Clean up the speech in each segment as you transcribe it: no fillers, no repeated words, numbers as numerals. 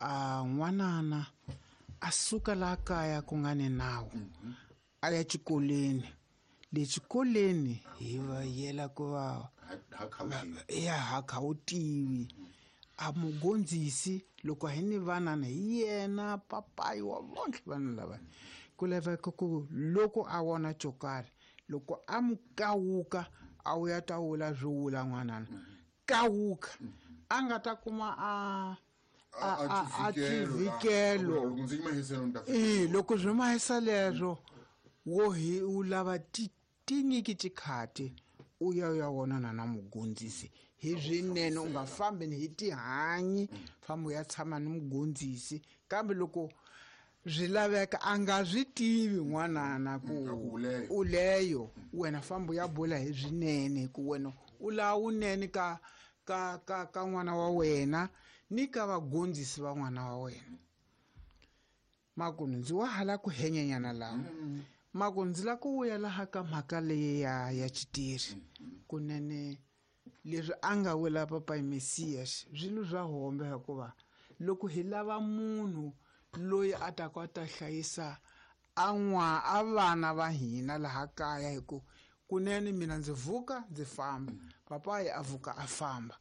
A n'wanana a suka laha kaya ku nga ni nawu a ya xikolweni. Le xikolweni hi va yela ku va ya ha kha wu tivi a mugondzisi loko hi ni vanana hi yena papayi wa vontlhe vanhu lava ku laveka ku loko a vona xo karhi loko a mu kawuka a wu ya ta wula swo wula n'wanana kawuka a nga ta kuma a a xivikelo loko swi mahisa leswo wo hi u lava tinyiki tikhati u ya u ya vonana na mugondzisi hi swinene u nga fambi ni hi tihanyi famba u ya tshama ni mugondzisi kambe loko swi laveka a nga swi tivi n'wanana ku u leyo wena famba u ya bula hi swinene ku wena u lava wunene ka ka ka ka n'wana wa wena ni ka vagondzisi va n'wana wa wena. Makunu ndzi wa hala ku henyenyana laha maku ndzi la ku vuya laha ka mhaka leyi ya ya xitiri kunene leswi a nga wela papayi Mesias swilo swa hombe hikuva loko hi lava munhu loyi a ta ku a ta hlayisa a n'wa a vana va hina laha kaya hi ku kunene mina ndzi vuka ndzi famba papayi a vuka a famba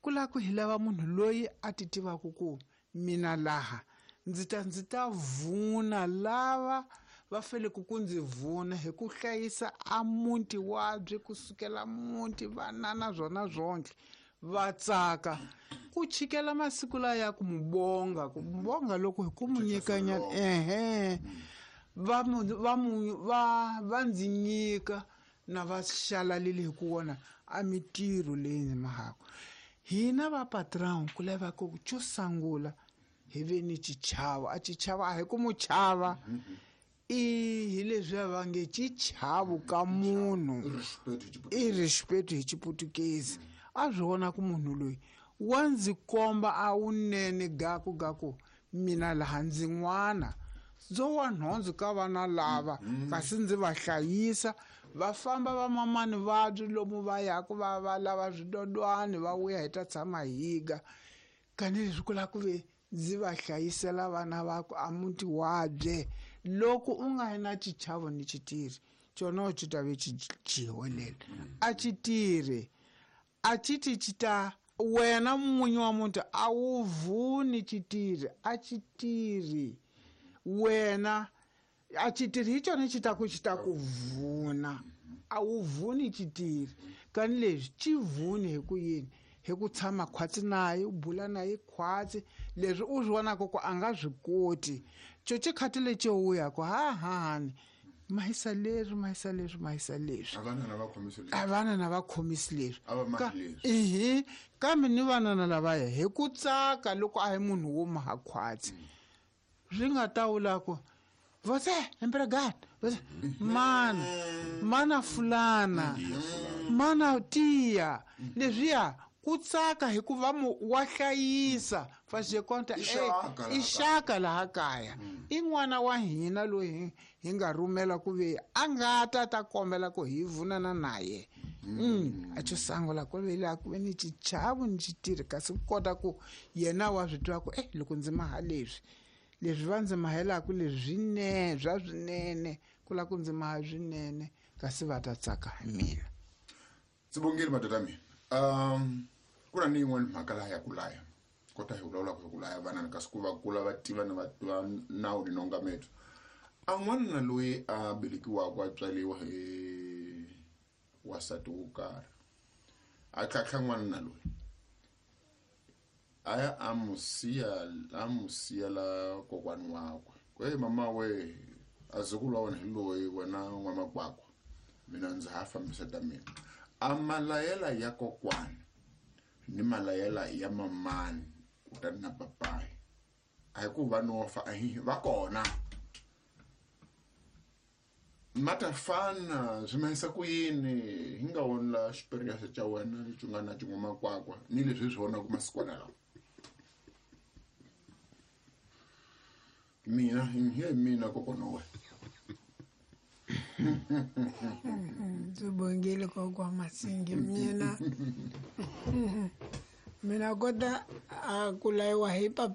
ku lava ku hi lava munhu loyi a ti tivaka ku mina laha ndzi ta ndzi ta vuna lava va faneleke ku ndzi vuna hi ku hlayisa a muti wabye kusukela muti vanana swona swonke va tsaka ku chikela masiku lawa ya ku mu bonga ku mu bonga loko hi ku mu nyikanyana ehe va mu va mu va va ndzi nyika na va xalalile hi ku vona a mitirho leyi ndzi mahaka hina va patron ku lava ku xo sungula hi ve ni xichavo a xichavo a hi ku mu chava i hi leswiya va nge xichavo ka munhu i respect hi xiputukezi a swi vona ku munhu loyi wa ndzi komba a wunene gaku gaku mina laha ndzi n'wana ndzo wa nhundzu ka vana lava kasi ndzi va hlayisa va famba va mamani vabyi lomu va yaku va va lava swidodwani va vuya hi ta tshama higa kanileswi ku lava ku ve ndzi va hlayisela vana va ku a muti wabye loko u nga ri na xichavo ni xitirhi xona xi ta ve xi jiwelela a xi tirhi a xi ti xi ta wena n'winyi wa muti a wu vuni xitirhi a xi tirhi wena a xitirhi hi xona xi ta ku xi ta ku vuna a wu vuni xitirhi kani leswi xi vuni hi ku yini hi ku tshama khwatsi naye u bula naye khwatsi leswi u swi vonaka ku a nga swi koti xo xikhati lexi u ya ku ha hahani mahisa leswi mahisa leswi mahisa leswi a vanana va khomisi leswi ihi kambe ni vanana lavaya hi ku tsaka loko a hi munhu wo maha khwatsi swi nga ta vula ku você empregado você mana mana fulana mana tiya leswiya ku tsaka hikuva mu wa hlayisa faxekonta i xaka laha kaya i n'wana wa hina loyi hi nga rhumela ku ve a nga ta ta kombela ku hi vunana naye a xo sungula ku ve laha ku ve ni xichavo ni xitirhi kasi ku kota ku yena wa swi tiva ku e loko ndzi maha leswi leswi va ndzi mahelaka leswi swinene swa swinene ku lava ku ndzi maha swinene kasi va ta tsaka hi mina. Ndzi vongile madoda mina ku na ni yin'wana mhaka laha ya ku laya kota hi vulavulaka hi ku laya vana kasi ku va kula va tiva ni va tiva nawu ni nongameto a n'wanuna loyi a velekiwaka a tswariwa hi wasati wo karhi a tlhatlha n'wanuna loyi a ya a mu siya a mu siyela kokwani wakwe ku hey mama we a zukulu wa wena hi loyi wena n'wamakwakwa mina ndzi ha fambisa ta mina a malayela ya kokwani ni malayela ya mamani kutani na papayi a hi ku va no fa a hi va kona ma ta fana swi mahisa ku yini hi nga voni la xiperiyanse xa wena lexi u nga na xin'wamakwakwa ni leswi hi swi vonaka masikwana lawa mina hi mina kokwana wa wena. Ndzi bongile kokwa Masingi mina mina kota a ku layiwa hi papa.